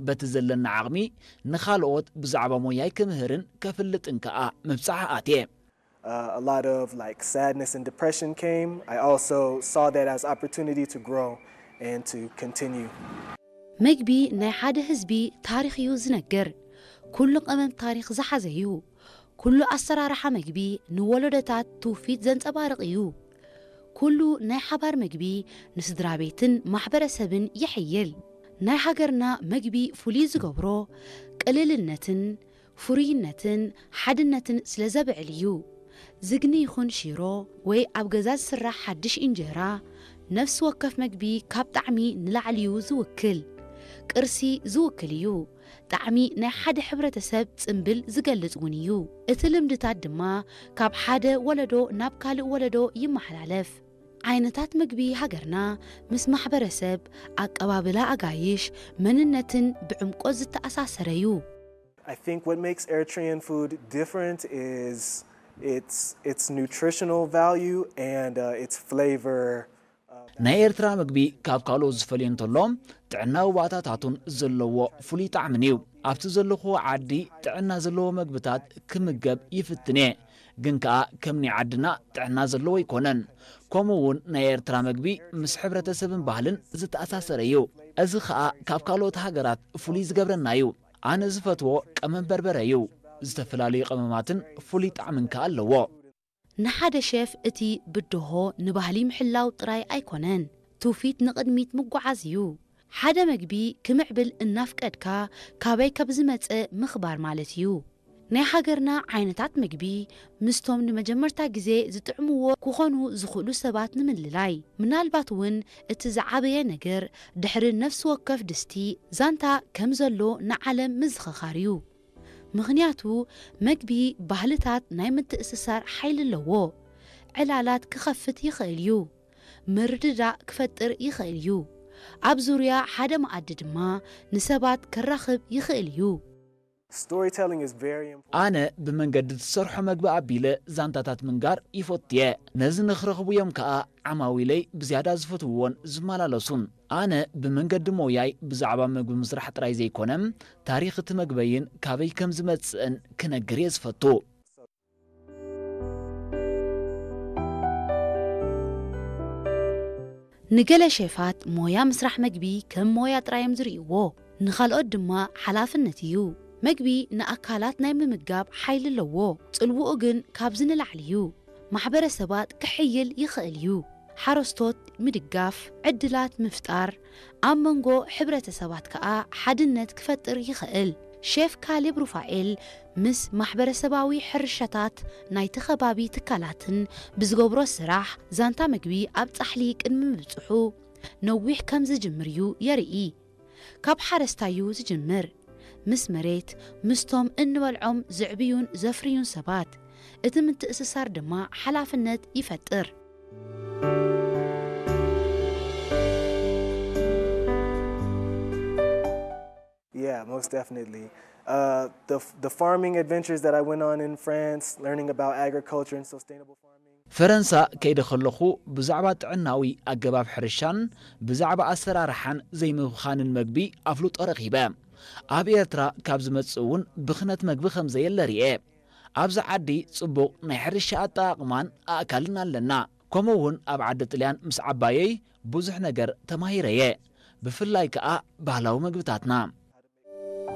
በቲ ዘለኒ ዓቕሚ ንኻልኦት ብዛዕባ ሞያይ ክምህርን ከፍልጥን ከኣ ምብጻሕ ኣትየ። Uh, a lot of like sadness and depression came. I also saw that as opportunity to grow and to continue. መግቢ ናይ ሓደ ህዝቢ ታሪኽ እዩ ዝነግር። ኩሉ ቀመም ታሪኽ ዝሓዘ እዩ። ኩሉ ኣሰራርሓ መግቢ ንወለዶታት ትውፊት ዘንጸባርቕ እዩ። ኩሉ ናይ ሓባር መግቢ ንስድራ ቤትን ማሕበረሰብን ይሕይል። ናይ ሃገርና መግቢ ፍሉይ ዝገብሮ ቅልልነትን ፍሩይነትን ሓድነትን ስለ ዘብዕል እዩ። ዝግኒ ይኹን ሽሮ ወይ ኣብ ገዛ ዝስራሕ ሓድሽ እንጀራ፣ ነፍሲ ወከፍ መግቢ ካብ ጣዕሚ ንላዕሊ እዩ ዝውክል። ቅርሲ ዝውክል እዩ። ጣዕሚ ናይ ሓደ ሕብረተሰብ ጽምብል ዝገልጽ እውን እዩ። እቲ ልምድታት ድማ ካብ ሓደ ወለዶ ናብ ካልእ ወለዶ ይመሓላለፍ። ዓይነታት መግቢ ሃገርና ምስ ማሕበረሰብ፣ ኣቀባብላ ኣጋይሽ፣ መንነትን ብዕምቆት ዝተኣሳሰረ እዩ። I think what makes Eritrean food different is its its nutritional value and uh, its flavor. ናይ ኤርትራ ምግቢ ካብ ካልኦት ዝፈልዮ እንተሎ ጥዕናዊ ባእታታቱን ዘለዎ ፍሉይ ጣዕምን እዩ። ኣብቲ ዘለኹዎ ዓዲ ጥዕና ዘለዎ መግብታት ክምገብ ይፍትን እየ፣ ግን ከኣ ከም ናይ ዓድና ጥዕና ዘለዎ ኣይኮነን። ከምኡ እውን ናይ ኤርትራ መግቢ ምስ ሕብረተሰብን ባህልን ዝተኣሳሰረ እዩ። እዚ ከኣ ካብ ካልኦት ሃገራት ፍሉይ ዝገብረና እዩ። ኣነ ዝፈትዎ ቀመም በርበረ እዩ። ዝተፈላለዩ ቀመማትን ፍሉይ ጣዕምን ከኣ ኣለዎ። ንሓደ ሸፍ እቲ ብድሆ ንባህሊ ምሕላው ጥራይ ኣይኮነን፣ ትውፊት ንቕድሚት ምጉዓዝ እዩ። ሓደ መግቢ ክምዕብል እናፍቀድካ ካበይ ከም ዝመጸ ምኽባር ማለት እዩ። ናይ ሃገርና ዓይነታት መግቢ ምስቶም ንመጀመርታ ግዜ ዝጥዕምዎ ክኾኑ ዝኽእሉ ሰባት ንምልላይ። ምናልባት እውን እቲ ዝዓበየ ነገር ድሕሪ ነፍሲ ወከፍ ድስቲ ዛንታ ከም ዘሎ ንዓለም ምዝኽኻር እዩ። ምኽንያቱ መግቢ ባህልታት ናይ ምትእስሳር ሓይሊ ኣለዎ። ዕላላት ክኸፍት ይኽእል እዩ። ምርድዳእ ክፈጥር ይኽእል እዩ። ኣብ ዙርያ ሓደ መኣዲ ድማ ንሰባት ከራኽብ ይኽእል እዩ። Storytelling is very important. ኣነ ብመንገዲ እትሰርሖ መግቢ ኣቢለ ዛንታታት ምንጋር ይፈቱ እየ። ነዚ ንኽረኽቡ እዮም ከኣ ዓማዊለይ ብዝያዳ ዝፈትውዎን ዝመላለሱን። ኣነ ብመንገዲ ሞያይ ብዛዕባ መግቢ ምስራሕ ጥራይ ዘይኮነ፣ ታሪኽ እቲ መግበይን ካበይ ከም ዝመጽእን ክነግር እየ ዝፈቱ። ንገለ ሼፋት ሞያ ምስራሕ መግቢ ከም ሞያ ጥራይ እዮም ዝርእይዎ፣ ንኻልኦት ድማ ሓላፍነት እዩ። መግቢ ንኣካላት ናይ ምምጋብ ሓይሊ ኣለዎ። ጽልውኡ ግን ካብዚ ንላዕሊ እዩ። ማሕበረሰባት ክሕይል ይኽእል እዩ። ሓረስቶት ምድጋፍ፣ ዕድላት ምፍጣር፣ ኣብ መንጎ ሕብረተሰባት ከኣ ሓድነት ክፈጥር ይኽእል። ሼፍ ካሌብ ሩፋኤል ምስ ማሕበረሰባዊ ሕርሻታት ናይቲ ከባቢ ትካላትን ብዝገብሮ ስራሕ ዛንታ መግቢ ኣብ ጻሕሊ ቅድሚ ምብጽሑ ነዊሕ ከም ዝጅምር እዩ የርኢ። ካብ ሓረስታይ እዩ ዝጅምር። ምስ መሬት፣ ምስቶም እንበልዖም ዝዕብዩን ዘፍርዩን ሰባት፣ እቲ ምትእስሳር ድማ ሓላፍነት ይፈጥር። Yeah, most definitely. Uh, the the farming adventures that I went on in France, learning about agriculture and sustainable farming. ፈረንሳ ከይደ ከለኹ ብዛዕባ ጥዕናዊ ኣገባብ ሕርሻን ብዛዕባ ኣሰራርሓን ዘይምብኻንን መግቢ ኣፍልጦ ረኺበ። ኣብ ኤርትራ ካብ ዝመጽእ እውን ብኽነት መግቢ ከም ዘየለ ርኤ። ኣብዚ ዓዲ ጽቡቕ ናይ ሕርሻ ኣጠቓቕማን ኣእካልን ኣለና። ከምኡ እውን ኣብ ዓዲ ጥልያን ምስ ዓባየይ ብዙሕ ነገር ተማሂረ እየ። ብፍላይ ከኣ ባህላዊ መግብታትና።